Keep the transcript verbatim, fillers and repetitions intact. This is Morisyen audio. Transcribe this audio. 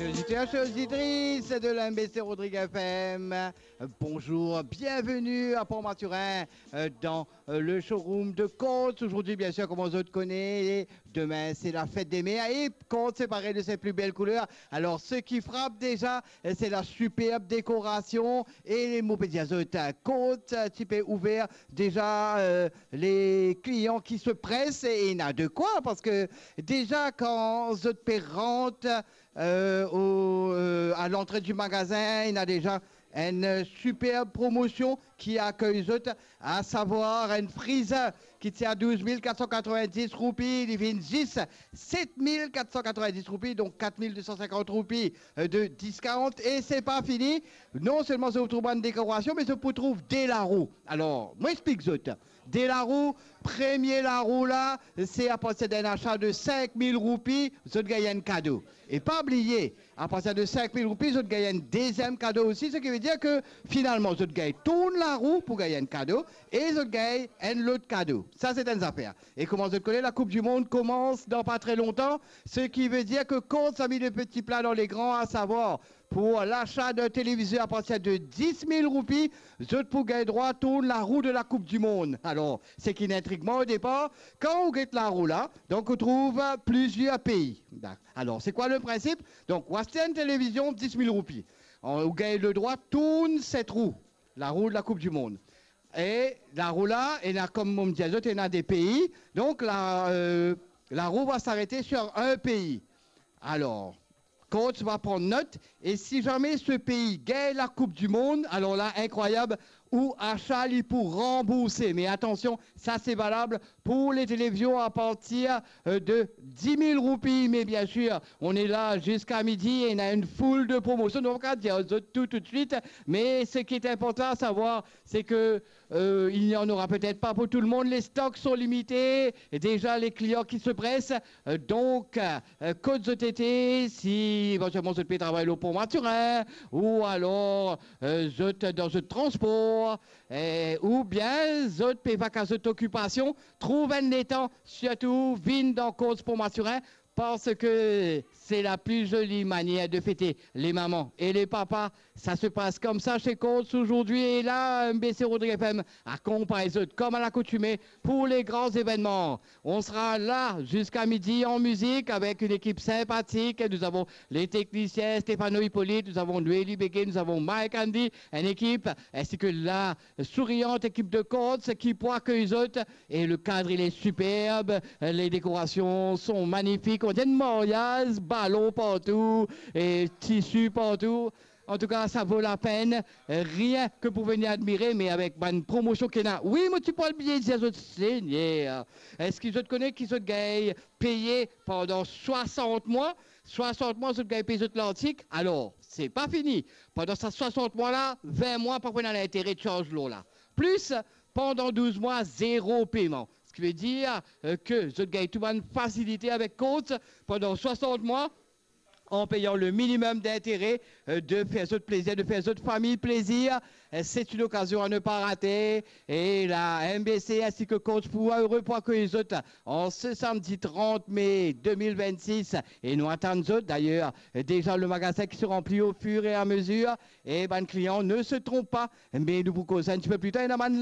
Auditeurs, chers auditrices de l'M B C Rodrigues F M, bonjour, bienvenue à Port-Mathurin, euh, dans, euh, le showroom de Courts. Aujourd'hui, bien sûr, comme vous le connaissez, demain, c'est la fête des mères et Courts, c'est paré de ses plus belles couleurs. Alors, ce qui frappe déjà, euh, c'est la superbe décoration et mo pe dir zot, euh, Courts, euh, ti pe ouver déjà, euh, les clients qui se pressent, et il y en a de quoi, parce que déjà, quand zot pe rant, euh, au, euh, à l'entrée du magasin, il y a déjà une superbe promotion qui accueille zot, à savoir un freezer qui tient à douze mille quatre cent quatre-vingt-dix roupies, il vient juste sept mille quatre cent quatre-vingt-dix roupies, donc quatre mille deux cent cinquante roupies, euh, de discount. Et c'est pas fini. Non seulement zot pou trouv bann décoration, mais zot pou trouv de larou. Alors, mo explik zot. De larou, premie larou la, c'est à partir d'un achat de cinq mille roupies, zot gagn enn kado. E pa bliye, à partir de cinq mille roupies, zot gagn enn deziem kado osi, ce qui veut dire que finalement, zot gagn tou larou pou gagn enn kado e zot gagn enn lot kado. Sa, c'est enn zafer. E kouma zot kone, la Coupe du Monde commence dans pas très longtemps, ce qui veut dire que Courts a mis le petit plat dans les grands, à savoir pour l'achat d'un téléviseur à partir de dix mille roupies, zot pou gagn drwa tou larou de la Coupe du Monde. Alors, ce qui intrigue moi au départ, quand ou get larou la, donc ou trouv plusieurs pays. Alor, c'est quoi le principe? Donc, ou aste enn télévizion, dix mille roupies. Ou gagn le drwa tourn set rou, larou de la Coupe du Monde. E larou la, ena, kouma mo dir zot, ena de pei. Donc, la, euh, la roue va s'arrêter sur un pays. Alors, Courts va pran not, e si zame se pei gagn la Coupe du Monde, alor la, inkrwayab, ou achat li pou ranbourse. Me atansion, sa se valab pour les télévisions à partir, euh, de dix mille roupies. Mais bien sûr, on est là jusqu'à midi et on a une foule de promotions. Donc, on va dire tout, tout de suite. Mais ce qui est important à savoir, c'est que, euh, il n'y en aura peut-être pas pour tout le monde. Les stocks sont limités. Déjà, les clients qui se pressent. Euh, donc, euh, kot zot ete, si éventuellement zot pe travay lor Pont Mathurin, ou alors, euh, zot dan zot transpor, eh, oubien zot pe vak a zot okipasion, trouv enn letan, sirtou vinn dan Courts Pont Mathurin, parce que c'est la plus jolie manière de fêter les mamans et les papas. Ça se passe comme ça chez Courts aujourd'hui. Et là, M B C Rodrigues F M accompagne zot, comme à l'accoutumée, pour les grands événements. On sera là jusqu'à midi en musique avec une équipe sympathique. Nous avons les techniciens Stéphano Hippolyte, nous avons Noélie Béguet, nous avons Mike Andy, une équipe, ainsi que la souriante équipe de Courts qui pou akeuy zot. Et le cadre, il est superbe, les décorations sont magnifiques. On dirait un mariage, ballon partout et tissu partout. En tout cas, ça vaut la peine, rien que pour venir admirer, mais avec bann promotion ki ena. Wi, mo ti pou al bliye dir zot, Segner. Eski zot kone ki zot gagn peye pandan swasant mwa? Swasant mwa, zot gagn peye zot lartik. Alor, se pa fini. Pandan sa swasant mwa la, vin mwa, pa pou ena lintere charz lor la. Plis, pandan douz mwa, zero peyman. Ce qui veut dire, euh, que zot gagn tou bann fasilite avek Courts pandan swasant mwa, en payant le minimum d'intérêt, euh, de faire zot plaisir, de faire zot famille plaisir. Euh, c'est une occasion à ne pas rater. Et la M B C ainsi que Courts pou heureux pou akeuy zot en ce samedi trente mai deux mille vingt-six. Et nou atann zot. D'ailleurs, déjà le magasin qui se remplit au fur et à mesure. Et bann clients ne se trompent pas. Mais nou pou koz un petit peu plus tard. Ena bann